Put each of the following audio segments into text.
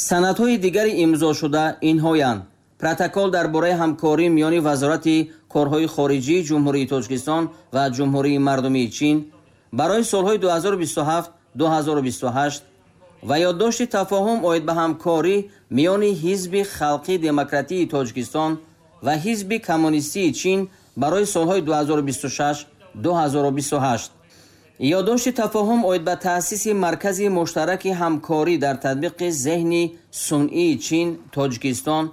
Санадҳои дигари имзошуда инҳоянд: протокол дар бораи ҳамкорӣ миёни Вазорати корҳои хориҷии Ҷумҳурии Тоҷикистон ва Ҷумҳурии Мардумии Чин барои солҳои 2027-2028 ва ёддошти тафоҳум оид ба ҳамкорӣ миёни Ҳизби Халқии Демократии Тоҷикистон ва Ҳизби Коммунистии Чин барои солҳои 2026-2028. Ёддошти тафоҳум оид ба таъсиси Маркази муштараки ҳамкорӣ дар татбиқи зеҳни сунъии Чин Тоҷикистон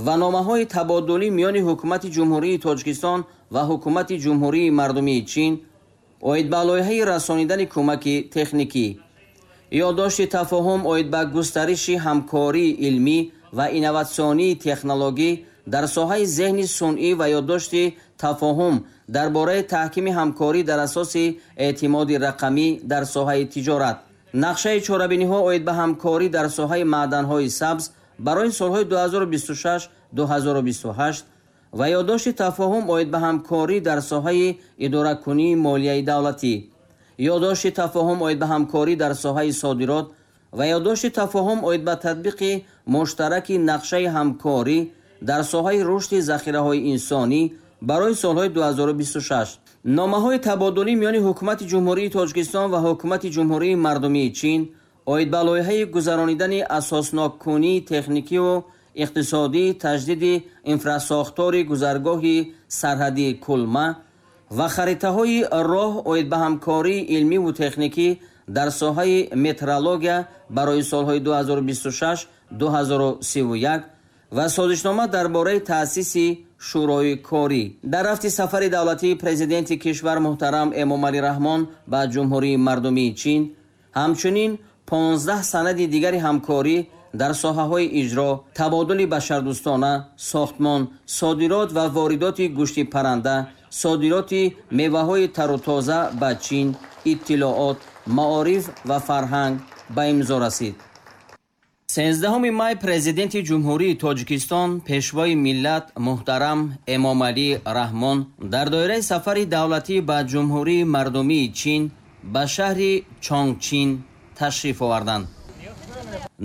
ва номаҳои табодулӣ миёни Ҳукумати Ҷумҳурии Тоҷикистон ва Ҳукумати Ҷумҳурии Мардумии Чин оид ба лоиҳаи расонидани кӯмаки техникӣ. Ёддошти тафоҳум оид ба густариши ҳамкории илмӣ ва инноватсионии технологӣ дар соҳаи зеҳни сунъӣ ва ёддошти тафоҳум дар бораи таҳкими ҳамкорӣ дар асоси эътимоди рақамӣ дар соҳаи тиҷорат. Нақшаи чорабиниҳо оид ба ҳамкорӣ дар соҳаи маъданҳои сабз барои солҳои 2026-2028 ва ёддошти тафоҳум оид ба ҳамкорӣ дар соҳаи идоракунии молияи давлатӣ. Ёддошти тафоҳум оид ба ҳамкорӣ дар соҳаи содирот ва ёддошти тафоҳум оид ба татбиқи муштараки нақшаи ҳамкорӣ дар соҳаи рушди захираҳои инсонӣ барои солҳои 2026. Номаҳои табодулӣ миёни Ҳукумати Ҷумҳурии Тоҷикистон ва Ҳукумати Ҷумҳурии Мардумии Чин оид ба лоиҳаи гузаронидани асосноккунии техникиву иқтисодии таҷдиди инфрасохтори гузаргоҳи сарҳадии Кулма ва харитаҳои роҳ оид ба ҳамкории илмиву техникӣ дар соҳаи метрология барои солҳои 2026-2031 ва созишнома дар бораи таъсиси Шӯрои корӣ. Дар рафти сафари давлатии Президенти кишвар муҳтарам Эмомалӣ Раҳмон ба Ҷумҳурии Мардумии Чин ҳамчунин 15 санади дигари ҳамкорӣ дар соҳаҳои иҷро, табодули башардӯстона, сохтмон, содирот ва воридоти гӯшти парранда, содироти меваҳои тару тоза ба Чин, иттилоот, маориф ва фарҳанг ба имзо расид. 13 май Президенти Ҷумҳурии Тоҷикистон, Пешвои миллат муҳтарам Эмомалӣ Раҳмон дар доираи сафари давлатӣ ба Ҷумҳурии Мардумии Чин ба шаҳри Чонгчин ташриф оварданд.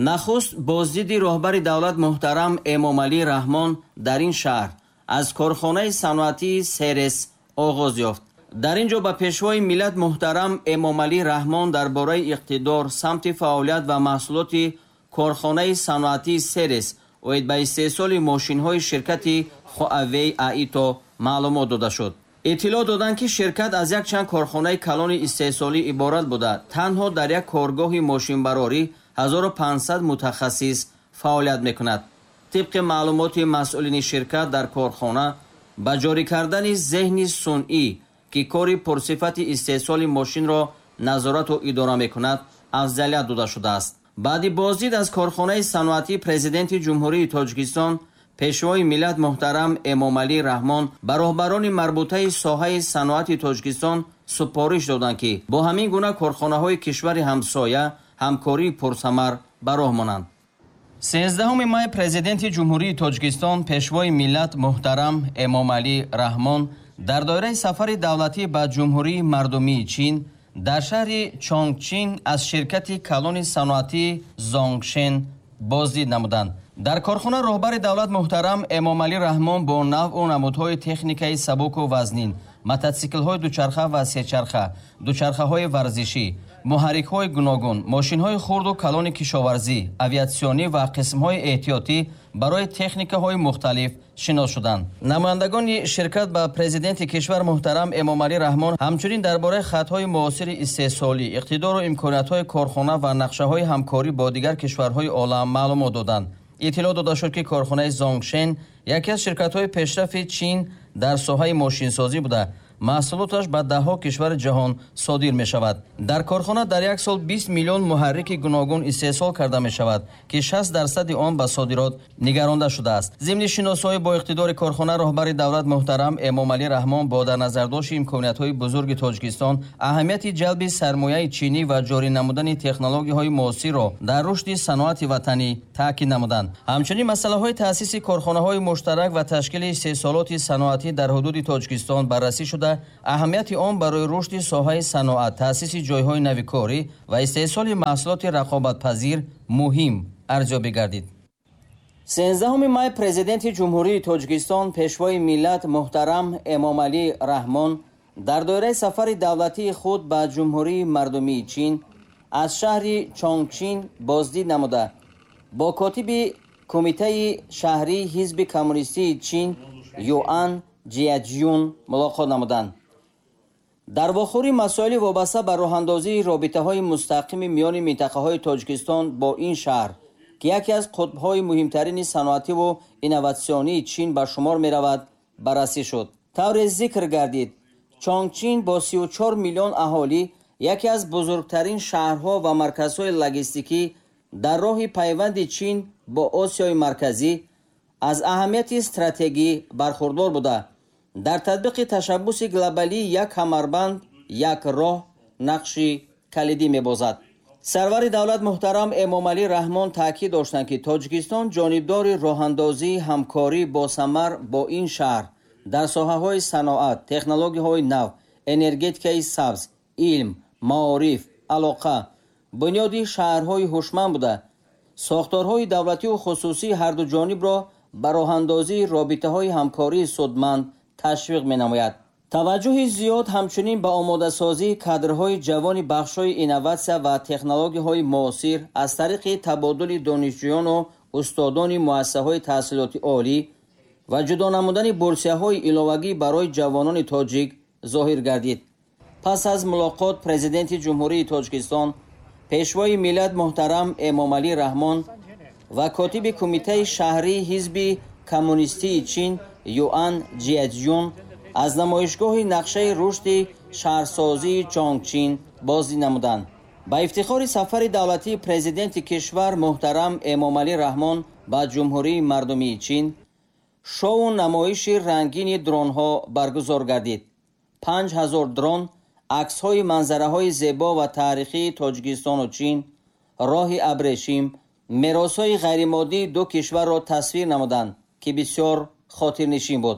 Нахуст боздиди роҳбари давлат муҳтарам Эмомалӣ Раҳмон дар ин шаҳр аз корхонаи саноатии Серес оғоз ёфт. Дар ин ҷо ба Пешвои миллат муҳтарам Эмомалӣ Раҳмон дар бораи иқтидор, самти фаъолият ва маҳсулоти корхонаи саноатии Серес оид ба истеҳсоли мошинҳои ширкати Хуавей Аито маълумот дода шуд. Иттилоъ доданд, ки ширкат аз якчанд корхонаи калони истеҳсолӣ иборат буда, танҳо дар як коргоҳи мошинбарорӣ 1500 мутахассис фаъолият мекунад. Тибқи маълумоти масъулини ширкат, дар корхона ба ҷорӣ кардани зеҳни сунъӣ, ки кори пурсифати истеҳсоли мошинро назорату идора мекунад, афзалият дода шудааст. Баъди боздид аз корхонаи саноатӣ Президенти Ҷумҳурии Тоҷикистон, Пешвои миллат муҳтарам Эмомалӣ Раҳмон ба роҳбарони марбутаи соҳаи саноати Тоҷикистон супориш доданд, ки бо ҳамин гуна корхонаҳои кишвари ҳамсоя ҳамкории пурсамар ба роҳ монанд. 13 май Президенти Ҷумҳурии Тоҷикистон, Пешвои миллат муҳтарам Эмомалӣ Раҳмон дар доираи сафари давлатӣ ба Ҷумҳурии Мардумии Чин дар шаҳри Чонгчин аз ширкати калони саноатии Зонгшен боздид намуданд. Дар корхона роҳбари давлат муҳтарам Эмомалӣ Раҳмон бо навъу намудҳои техникаи сабуку вазнин, мототсиклҳои дучарха ва сечарха, дучархаҳои варзишӣ, муҳаррикҳои гуногун, мошинҳои хурду калони кишоварзӣ, авиатсионӣ ва қисмҳои эҳтиётӣ барои техникаҳои мухталиф шинос шуданд. Намояндагони ширкат ба Президенти кишвар муҳтарам Эмомалӣ Раҳмон ҳамчунин дар бораи хатҳои муосири истеҳсолӣ, иқтидору имкониятҳои корхона ва нақшаҳои ҳамкорӣ бо дигар кишварҳои олам маълумот доданд. Иттилоъ дода шуд, ки корхонаи Зонгшен яке аз ширкатҳои пешрафи Чин дар соҳаи мошинсозӣ буда, маҳсулоташ ба даҳҳо кишвари ҷаҳон содир мешавад. Дар корхона дар як сол 20 миллион муҳаррики гуногун истеҳсол карда мешавад, ки 60% он ба содирот нигаронда шудааст. Зимни шиносоӣ бо иқтидори корхона роҳбари давлат муҳтарам Эмомалӣ Раҳмон бо дар назардошти имкониятҳои бузурги Тоҷикистон, аҳамияти ҷалби сармояи чинӣ ва ҷорӣ намудани технологияҳои муосирро дар рушди саноати ватанӣ таъкид намуданд. Ҳамчунин масъалаҳои таъсиси корхонаҳои муштарак ва ташкили истеҳсолоти саноатӣ дар ҳудуди Тоҷикистон баррасӣ шуда, аҳамияти он барои рушди соҳаи саноат, таъсиси ҷойҳои нави корӣ ва истеҳсоли маҳсулоти рақобатпазир муҳим Арзёбӣ гардид. 13 май Президенти Ҷумҳурии Тоҷикистон, Пешвои миллат муҳтарам Эмомалӣ Раҳмон дар доираи сафари давлатии худ ба Ҷумҳурии Мардумии Чин аз шаҳри Чонгчин боздид намуда, бо котиби Кумитаи шаҳрии Ҳизби Коммунистии Чин Юан Ҷияҷюн мулоқот намуданд. Дар вохӯрӣ масоили вобаста ба роҳандозии робитаҳои мустақими миёни минтақаҳои Тоҷикистон бо ин шаҳр, ки яке аз қутбҳои муҳимтарини саноативу инноватсионии Чин ба шумор меравад, баррасӣ шуд. Тавре зикр гардид, Чонгчин бо 34 миллион аҳолӣ яке аз бузургтарин шаҳрҳо ва марказҳои логистикӣ дар роҳи пайванди Чин бо Осиёи Марказӣ аз аҳамияти стратегӣ бархурдор буда, дар татбиқи ташаббуси глобалии «Як камарбанд, як роҳ» нақши калидӣ мебозад. Сарвари давлат муҳтарам Эмомалӣ Раҳмон таъкид доштанд, ки Тоҷикистон ҷонибдори роҳандозии ҳамкорӣ босамар бо ин шаҳр дар соҳаҳои саноат, технологияҳои нав, энергетикаи сабз, илм, маориф, алоқа, бунёди шаҳрҳои ҳушманд буда, сохторҳои давлативу хусусии ҳардуҷонибро ба роҳандозии робитаҳои ҳамкории судманд ташвиқ менамояд. Таваҷҷӯҳи зиёд ҳамчунин ба омодасозии кадрҳои ҷавони бахшҳои инноватсия ва технологияҳои муосир аз тариқи табодули донишҷӯёну устодони муассисаҳои таҳсилоти олӣ ва ҷудо намудани бурсияҳои иловагӣ барои ҷавонони тоҷик зоҳир гардид. Пас аз мулоқот Президенти Ҷумҳурии Тоҷикистон, Пешвои миллат муҳтарам Эмомалӣ Раҳмон ва котиби Кумитаи шаҳрии Ҳизби Коммунистии Чин Юан Ҷияцзюн аз намоишгоҳи нақшаи рушди шаҳрсозии Чонгчин боздид намуданд. Ба ифтихори сафари давлатии Президенти кишвар муҳтарам Эмомалӣ Раҳмон ба Ҷумҳурии Мардумии Чин шоу намоиши рангини дронҳо баргузор гардид. 5000 дрон аксҳои манзараҳои зебо ва таърихии Тоҷикистону Чин, роҳи абрешим, меросҳои ғайримоддии ду кишварро тасвир намуданд, ки бисёр хотирнишин буд.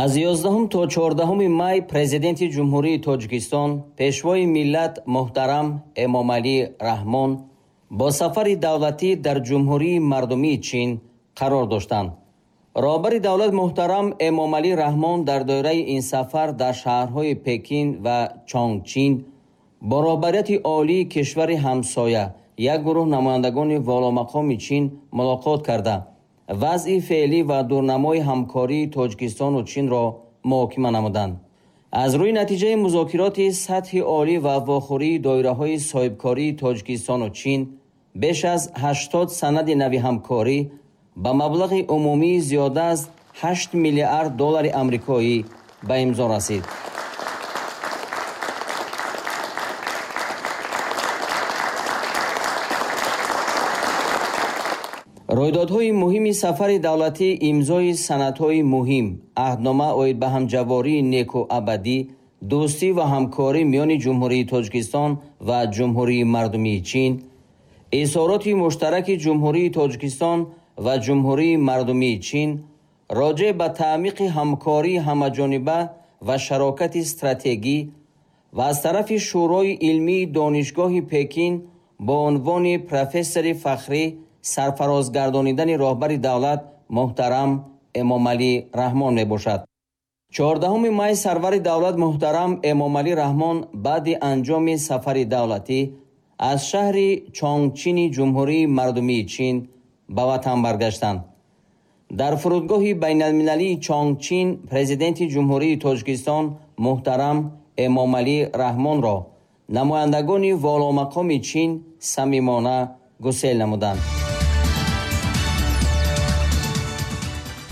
Аз 11 то 14 май Президенти Ҷумҳурии Тоҷикистон, Пешвои миллат муҳтарам Эмомалӣ Раҳмон бо сафари давлатӣ дар Ҷумҳурии Мардумии Чин қарор доштанд. Роҳбари давлат муҳтарам Эмомалӣ Раҳмон дар доираи ин сафар дар шаҳрҳои Пекин ва Чонгчин бо роҳбарияти олии кишвари ҳамсоя, як гурӯҳ намояндагони воломақоми Чин мулоқот карда, вазъи феълӣ ва дурнамои ҳамкории Тоҷикистону Чинро муҳокима намуданд. Аз рӯи натиҷаи музокироти сатҳи олӣ ва вохӯрии доираҳои соҳибкории Тоҷикистону Чин беш аз 80 санади нави ҳамкорӣ ба маблағи умумии зиёда аз 8 миллиард доллари амрикоӣ ба имзо расид. Рӯйдодҳои муҳими сафари давлатӣ имзои санадҳои муҳим, аҳднома оид ба ҳамҷавории неку абадӣ, дӯстӣ ва ҳамкорӣ миёни Ҷумҳурии Тоҷикистон ва Ҷумҳурии Мардумии Чин, изҳороти муштараки Ҷумҳурии Тоҷикистон ва Ҷумҳурии Мардумии Чин роҷеъ ба таъмиқи ҳамкории ҳамаҷониба ва шарокати стратегӣ ва аз тарафи Шӯрои илмии Донишгоҳи Пекин бо унвони профессори фахрӣ сарфароз гардонидани роҳбари давлат муҳтарам Эмомалӣ Раҳмон мебошад. 14 май сарвари давлат муҳтарам Эмомалӣ Раҳмон баъди анҷоми сафари давлатӣ аз шаҳри Чонгчини Ҷумҳурии Мардумии Чин ба ватан баргаштанд. Дар фурудгоҳи байналмилалии Чонгчин Президенти Ҷумҳурии Тоҷикистон муҳтарам Эмомалӣ Раҳмонро намояндагони воломақоми Чин самимона гусел намуданд.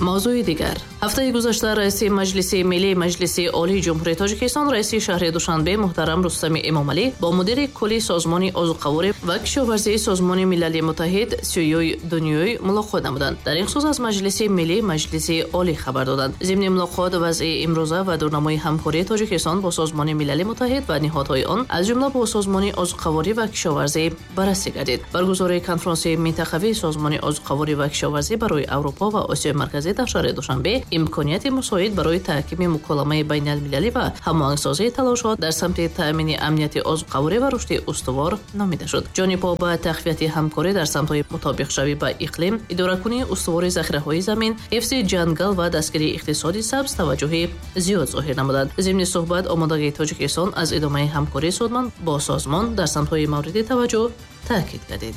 Мавзӯи дигар. Ҳафтаи гузашта раиси Маҷлиси Миллии Маҷлиси Олии Ҷумҳурии Тоҷикистон, раиси шаҳри Душанбе муҳтарам Рустами Эмомалӣ бо мудири кулли Созмони озуқаворӣ ва кишоварзии Созмони Милали Муттаҳид Сююй Дунюй мулоқот намуданд. Дар ин хусус аз Маҷлиси Миллии Маҷлиси Олӣ хабар доданд. Зимни мулоқот вазъи имрӯза ва дурнамои ҳамкории Тоҷикистон бо Созмони Милали Муттаҳид ва ниҳодҳои он, аз ҷумла бо Созмони озуқаворӣ ва кишоварзӣ баррасӣ гардид. Баргузории конфронси минтақавии Созмони озуқаворӣ ва кишоварзӣ барои Аврупо ва Осиёи Марказӣ дар шаҳри Душанбе Имконияти мусоид барои таҳкими муколамаи байналмилалӣ ва ҳамоҳангсозии талошҳо дар самти таъмини амнияти озуқаворӣ ва рушди устувор номида шуд. Ҷонибҳо ба тақвияти ҳамкорӣ дар самтҳои мутобиқшавӣ ба иқлим, идоракунии устувори захираҳои замин, ҳифзи ҷангал ва дастгирии иқтисоди сабз таваҷҷӯҳи зиёд зоҳир намуданд. Зимни суҳбат омодагии Тоҷикистон аз идомаи ҳамкории судманд бо созмон дар самтҳои мавриди таваҷҷӯҳ таъкид гардид.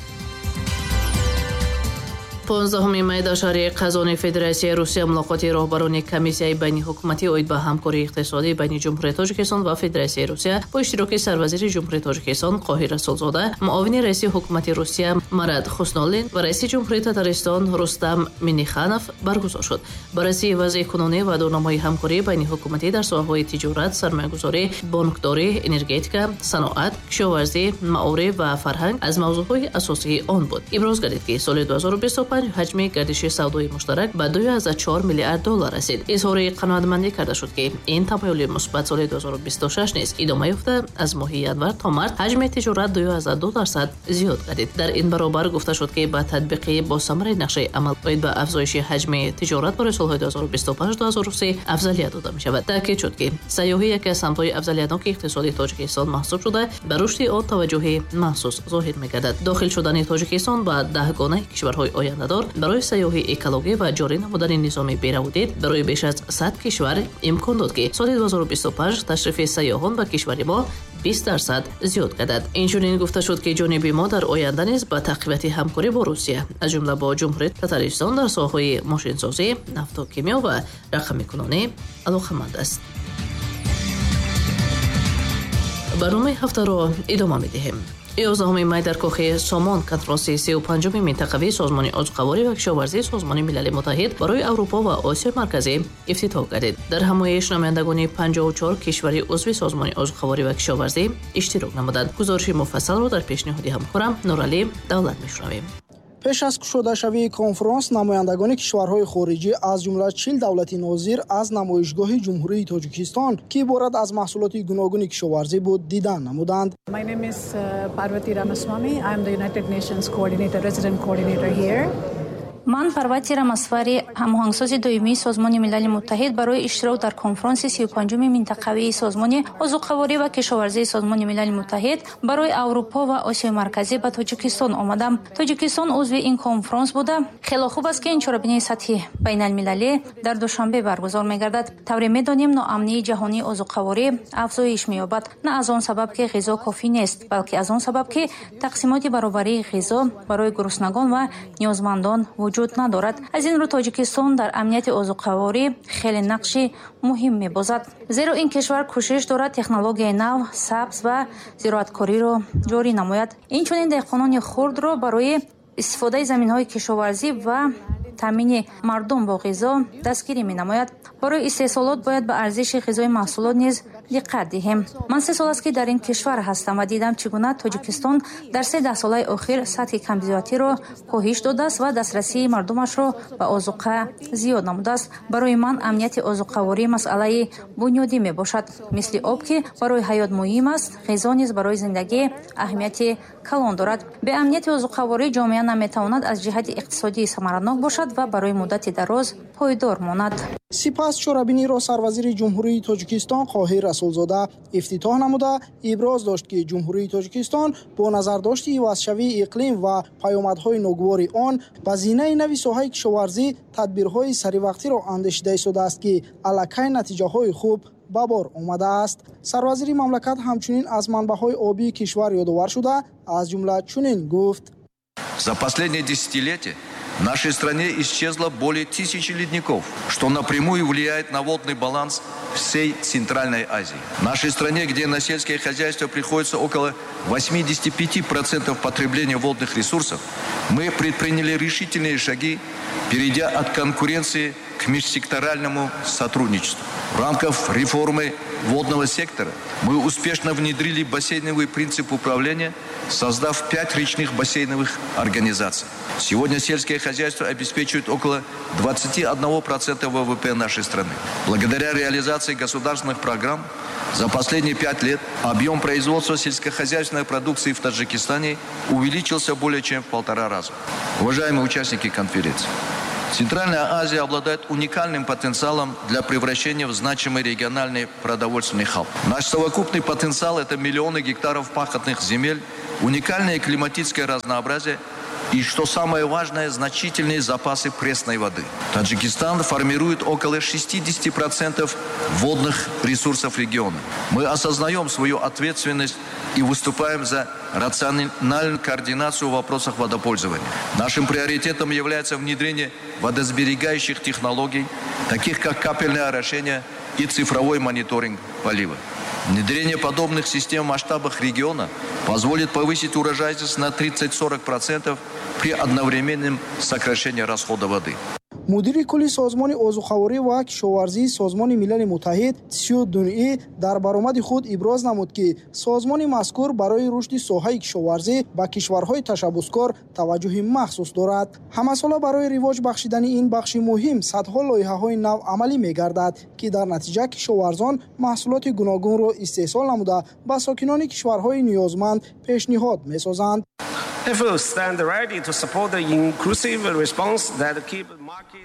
15 май дар шаҳри Қазони Федератсияи Русия мулоқоти роҳбарони комиссияи байниҳукуматӣ оид ба ҳамкории иқтисодӣ байни Ҷумҳурии Тоҷикистон ва Федератсияи Русия бо иштироки сарвазири Ҷумҳурии Тоҷикистон Қоҳир Расулзода, муовини раиси ҳукумати Русия Марат Хуснуллин ва раиси Ҷумҳурии Татаристон Рустам Минниханов баргузор шуд. Баррасии вазъи кунунӣ ва дурнамои ҳамкории байниҳукуматӣ дар соҳаҳои тиҷорат, сармоягузорӣ, бонкдорӣ, энергетика, саноат, кишоварзӣ, маориф ва фарҳанг аз мавзӯъҳои асосии он буд. Иброз гардид, ки соли 2025 ҳаҷми гардиши савдои муштарак ба 2,4 миллиард доллар расид. Изҳори қаноатмандӣ карда шуд, ки ин тамоюли мусбат соли 2026 низ идома ёфта, аз моҳи январ то март ҳаҷми тиҷорат 2,2% зиёд гардид. Дар ин баробар гуфта шуд, ки ба татбиқи босамари нақшаи амал оид ба афзоиши ҳаҷми тиҷорат барои солҳои 2025-2030 афзалият дода мешавад. Таъкид шуд, ки сайёҳӣ яке аз самтҳои афзалиятноки иқтисоди Тоҷикистон маҳсуб шуда, ба рушди он таваҷҷӯҳи махсус зоҳир мегардад. Дохил шудани Тоҷикистон ба даҳгонаи кишварҳои ояндадор барои сайёҳии экологӣ ва ҷорӣ намудани низоми бераводид барои беш аз 100 кишвар имкон дод, ки соли 2025 ташрифи сайёҳон ба кишвари мо 20% зиёд гардад. Инчунин гуфта шуд, ки ҷониби мо дар оянда низ ба тақвияти ҳамкорӣ бо Русия, аз ҷумла бо Ҷумҳурии Татаристон дар соҳаҳои мошинсозӣ, нафтокимиё ва рақамикунонӣ алоқаманд аст. Барномаи ҳафтаро идома медиҳем. 11 май дар кохи Сомон конфронси 35-уми минтақавии Созмони озуқаворӣ ва кишоварзии Созмони Милали Муттаҳид барои Аврупо ва Осиёи Марказӣ ифтитоҳ гардид. Дар ҳамоиш намояндагони 54 кишвари узви Созмони озуқаворӣ ва кишоварзӣ иштирок намуданд. Гузориши муфассалро дар пешниҳоди ҳамкорам Нуралӣ Давлат мешунавем. Пеш аз кушодашавии конфронс намояндагони кишварҳои хориҷӣ, аз ҷумла 40 давлати нозир, аз намоишгоҳи Ҷумҳурии Тоҷикистон, ки иборат аз маҳсулоти гуногуни кишоварзӣ буд, дидан намуданд. My name is Parvati Ramaswamy. I am the United Nations coordinator, resident coordinator here. Ман Парвати Рамасвари, ҳамоҳангсози доимии Созмони Милали Муттаҳид барои иштирок дар конфронси 35-уми минтақавии Созмони озуқаворӣ ва кишоварзии Созмони Милали Муттаҳид барои Аврупо ва Осиёи Марказӣ ба Тоҷикистон омадам. Тоҷикистон узви ин конфронс буда, хело хуб аст, ки ин чорабинии сатҳи байналмилалӣ дар Душанбе баргузор мегардад. Тавре медонем, ноамнии ҷаҳонии озуқаворӣ афзоиш меёбад, на аз он сабаб, ки ғизо кофӣ нест, балки аз он сабаб, ки тақсимоти баробарии ғизо барои гуруснагон ва ниёзмандон вуҷуд надорад. Аз ин рӯ Тоҷикистон дар амнияти озуқаворӣ хеле нақши муҳим мебозад, зеро ин кишвар кӯшиш дорад технологияи нав, сабз ва зироаткориро ҷорӣ намояд. Инчунин деҳқонони хурдро барои истифодаи заминҳои кишоварзӣ ва таъмини мардум бо ғизо дастгирӣ менамояд. Барои истеҳсолот бояд ба арзиши ғизои маҳсулот низ диққат диҳем. Ман 3 сол аст, ки дар ин кишвар ҳастам ва дидам, чӣ гуна Тоҷикистон дар 3 даҳсолаи охир сатҳи камбизоатиро коҳиш додааст ва дастрасии мардумашро ба озуқа зиёд намудааст. Барои ман амнияти озуқаворӣ масъалаи бунёдӣ мебошад. Мисли об, ки барои ҳаёт муҳим аст, ғизо низ барои зиндагӣ аҳамияти калон дорад. Беамнияти озуқаворӣ ҷомеа наметавонад аз ҷиҳати иқтисодӣ самаранок бошад ва барои муддати дароз пойдор монад. Сипас чорабиниро сарвазири Ҷумҳурии Тоҷикистон Қоҳир Расулзода ифтитоҳ намуда, иброз дошт, ки Ҷумҳурии Тоҷикистон бо назардошти ивазшавии иқлим ва паёмадҳои ногувори он ба зинаи нави соҳаи кишоварзӣ тадбирҳои саривақтиро андешида истодааст, ки аллакай натиҷаҳои хуб ба бор омадааст. Сарвазири мамлакат ҳамчунин аз манбаъҳои обии кишвар ёдовар шуда, аз ҷумла чунин гуфт: За последние десятилетия в нашей стране исчезло более 1000 ледников, что напрямую влияет на водный баланс всей Центральной Азии. В нашей стране, где на сельское хозяйство приходится около 85% потребления водных ресурсов, мы предприняли решительные шаги, перейдя от конкуренции к межсекторальному сотрудничеству. В рамках реформы водного сектора мы успешно внедрили бассейновый принцип управления, создав 5 речных бассейновых организаций. Сегодня сельское хозяйство обеспечивает около 21% ВВП нашей страны. Благодаря реализации государственных программ за последние 5 лет объем производства сельскохозяйственной продукции в Таджикистане увеличился более чем в 1,5 раза. Уважаемые участники конференции, Центральная Азия обладает уникальным потенциалом для превращения в значимый региональный продовольственный хаб. Наш совокупный потенциал – это миллионы гектаров пахотных земель, уникальное климатическое разнообразие и, что самое важное, значительные запасы пресной воды. Таджикистан формирует около 60% водных ресурсов региона. Мы осознаем свою ответственность и выступаем за рациональную координацию в вопросах водопользования. Нашим приоритетом является внедрение водосберегающих технологий, таких как капельное орошение и цифровой мониторинг полива. Внедрение подобных систем в масштабах региона позволит повысить урожайность на 30-40% при одновременном сокращении расхода воды. Мудири кулли Созмони озуқаворӣ ва кишоварзии Созмони Милали Муттаҳид Сю Дунъи дар баромади худ иброз намуд, ки созмони мазкур барои рушди соҳаи кишоварзӣ ба кишварҳои ташаббускор таваҷҷӯҳи махсус дорад. Ҳамасола барои ривоҷ бахшидани ин бахши муҳим садҳо лоиҳаҳои нав амалӣ мегардад, ки дар натиҷа кишоварзон маҳсулоти гуногунро истеҳсол намуда, ба сокинони кишварҳои ниёзманд пешниҳод месозанд.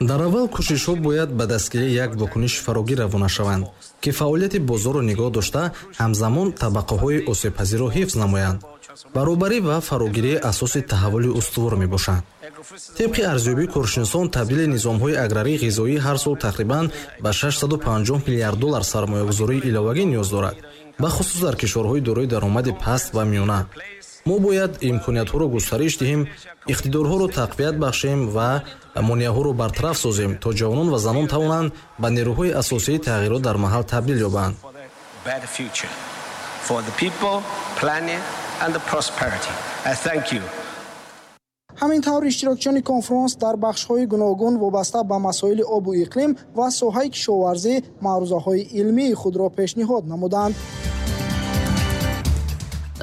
Дар аввал кӯшишҳо бояд ба дастгирии як вокуниши фарогир равона шаванд, ки фаъолияти бозорро нигоҳ дошта, ҳамзамон табақаҳои осебпазирро ҳифз намоянд. Баробарӣ ва фарогирии асоси таҳаввули устувор мебошанд. Тибқи арзёбии коршиносон, табдили низомҳои аграрии ғизоӣ ҳар сол тақрибан ба 650 миллиард доллар сармоягузории иловагӣ ниёз дорад, бахусус дар кишварҳои дорои даромади паст ва миёна. Мо бояд имкониятҳоро густариш диҳем, иқтидорҳоро тақвият бахшем ва монеаҳоро бартараф созем, то ҷавонон ва занон тавонанд ба нерӯҳои асосии тағйирот дар маҳал табдил ёбанд. Ҳамин тавр, иштирокчиёни конфронс дар бахшҳои гуногун вобаста ба масоили обу иқлим ва соҳаи кишоварзӣ маърузаҳои илмии худро пешниҳод намуданд.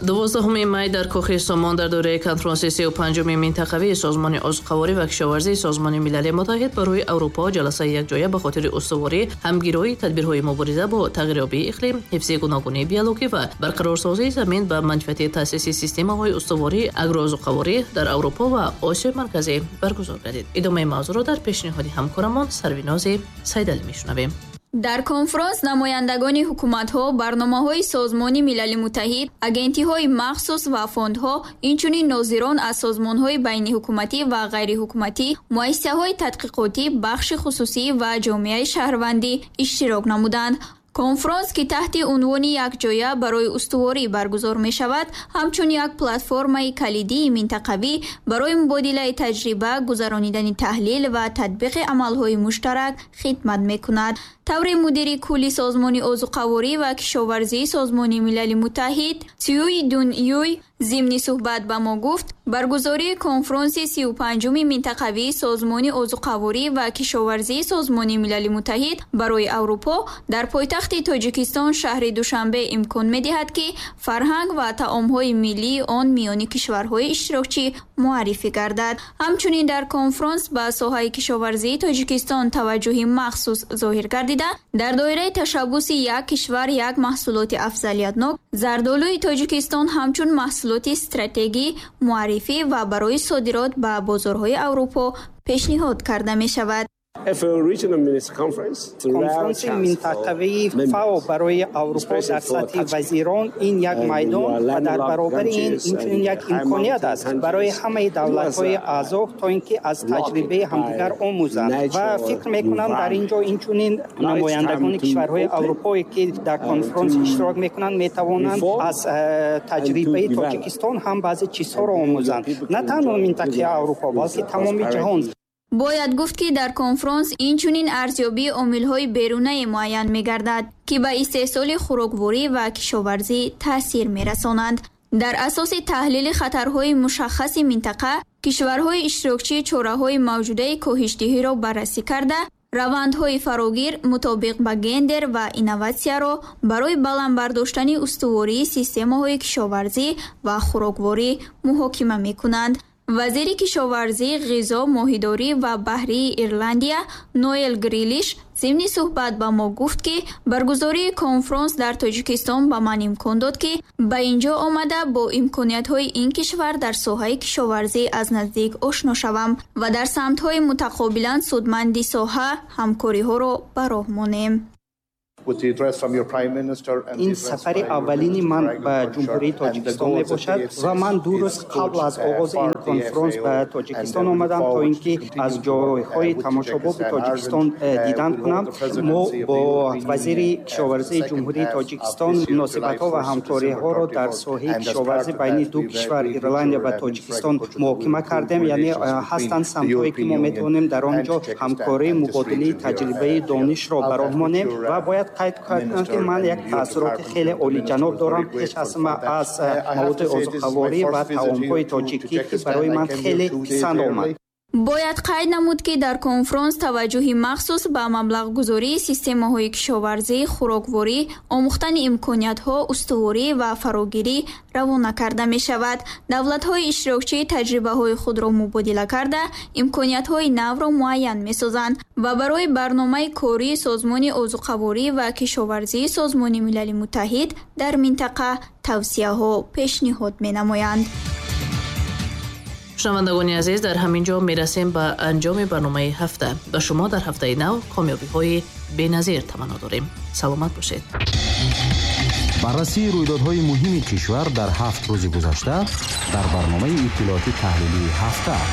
12 май дар Кохи Сомон дар доираи конфронси 35-уми минтақавии Созмони озуқаворӣ ва кишоварзии Созмони Милали Муттаҳид барои Аврупо ҷаласаи якҷоя ба хотири устуворӣ, ҳамгироии тадбирҳои мубориза бо тағйирёбии иқлим, ҳифзи гуногунии биологӣ ва барқарорсозии замин ба манфиати таъсиси системаҳои устувории агроозуқаворӣ дар Аврупо ва Осиёи Марказӣ баргузор гардид. Идомаи мавзӯъро дар пешниҳоди ҳамкорамон Сарвинози Сайдалӣ мешунавем. Дар конфронс намояндагони ҳукуматҳо, барномаҳои Созмони Милали Муттаҳид, агентиҳои махсус ва фондҳо, инчунин нозирон аз созмонҳои байниҳукуматӣ ва ғайриҳукуматӣ, муассисаҳои тадқиқотӣ, бахши хусусӣ ва ҷомеаи шаҳрвандӣ иштирок намуданд. Конфронс, ки таҳти унвони якҷоя барои устуворӣ баргузор мешавад, ҳамчун як платформаи калидии минтақавӣ барои мубодилаи таҷриба, гузаронидани таҳлил ва татбиқи амалҳои муштарак хидмат мекунад. Таври мудири кулли Созмони озуқаворӣ ва кишоварзии Созмони Милали Муттаҳид Цюй Дун Юй зимни суҳбат ба мо гуфт, баргузории конфронси 35-уми минтақавии Созмони озуқаворӣ ва кишоварзии Созмони Милали Муттаҳид барои Аврупо дар пойтахти Тоҷикистон шаҳри Душанбе имкон медиҳад, ки фарҳанг ва таомҳои миллии он миёни кишварҳои иштирокчӣ муаррифӣ гардад. Ҳамчунин дар конфронс ба соҳаи кишоварзии Тоҷикистон таваҷҷӯҳи махсус зоҳир гардида, дар доираи ташаббуси як кишвар як маҳсулоти афзалиятнок зардолуи Тоҷикистон ҳамчун маҳсулоти стратегӣ муаррифӣ ва барои содирот ба бозорҳои Аврупо пешниҳод карда мешавад. Конфронси минтақавии ФАО барои Аврупо дар сатҳи вазирон ин як майдон ва дар баробари ин инчунин як имконият аст барои ҳамаи давлатҳои аъзо, то ин ки аз таҷрибаи ҳамдигар омӯзанд. Ва фикр мекунам, дар ин ҷо инчунин намояндагони кишварҳои аврупое, ки дар конфронс иштирок мекунанд, метавонанд аз таҷрибаи Тоҷикистон ҳам баъзе чизҳоро омӯзанд, на танҳо минтақаи Аврупо, балки тамоми ҷаҳон. Бояд гуфт, ки дар конфронс инчунин арзёбии омилҳои берунае муайян мегардад, ки ба истеҳсоли хӯрокворӣ ва кишоварзӣ таъсир мерасонанд. Дар асоси таҳлили хатарҳои мушаххаси минтақа, кишварҳои иштирокчӣ чораҳои мавҷудаи коҳишдиҳиро баррасӣ карда, равандҳои фарогир мутобиқ ба гендер ва инноватсияро барои баланд бардоштани устувории системаҳои кишоварзӣ ва хӯрокворӣ муҳокима мекунанд. Вазири кишоварзӣ, ғизо, моҳидорӣ ва баҳрии Ирландия Ноэл Грилиш зимни суҳбат ба мо гуфт, ки баргузории конфронс дар Тоҷикистон ба ман имкон дод, ки ба ин ҷо омада бо имкониятҳои ин кишвар дар соҳаи кишоварзӣ аз наздик ошно шавам ва дар самтҳои мутақобилан судманди соҳа ҳамкориҳоро ба роҳ монем. Ин сафари аввалини ман ба Ҷумҳурии Тоҷикистон мебошад ва ман 2 рӯз қабл аз оғози ин конфронс ба Тоҷикистон омадам, то ин ки аз ҷойҳои тамошобоби Тоҷикистон дидан кунам. Мо бо вазири кишоварзии Ҷумҳурии Тоҷикистон муносибатҳо ва ҳамкориҳоро дар соҳаи кишоварзӣ байни ду кишвар, Ирландия ва Тоҷикистон, муҳокима кардем. Яъне ҳастанд самтҳое, ки мо метавонем дар он ҷо ҳамкорӣ, мубодилаи таҷрибаи донишро ба роҳ монем. Ва бояд қайд кардам, ки ман як таассуроти хеле олиҷаноб дорам пеш аз ҳама аз маводи озуқаворӣ ва таомҳои тоҷикӣ, ки барои ман хеле писанд омад. Бояд қайд намуд, ки дар конфронс таваҷҷӯҳи махсус ба маблағгузории системаҳои кишоварзӣ, хӯрокворӣ, омӯхтани имкониятҳо, устуворӣ ва фарогирӣ равона карда мешавад. Давлатҳои иштирокчӣ таҷрибаҳои худро мубодила карда, имкониятҳои навро муайян месозанд ва барои барномаи кории Созмони озуқаворӣ ва кишоварзии Созмони Милали Муттаҳид дар минтақа тавсияҳо пешниҳод менамоянд. Шунавандагони азиз, дар ҳамин ҷо мерасем ба анҷоми барномаи ҳафта. Ба шумо дар ҳафтаи нав комёбиҳои беназир таманно дорем. Саломат бошед. Баррасии рӯйдодҳои муҳими кишвар дар 7 рӯзи гузашта дар барномаи иттилооти таҳлилии ҳафта.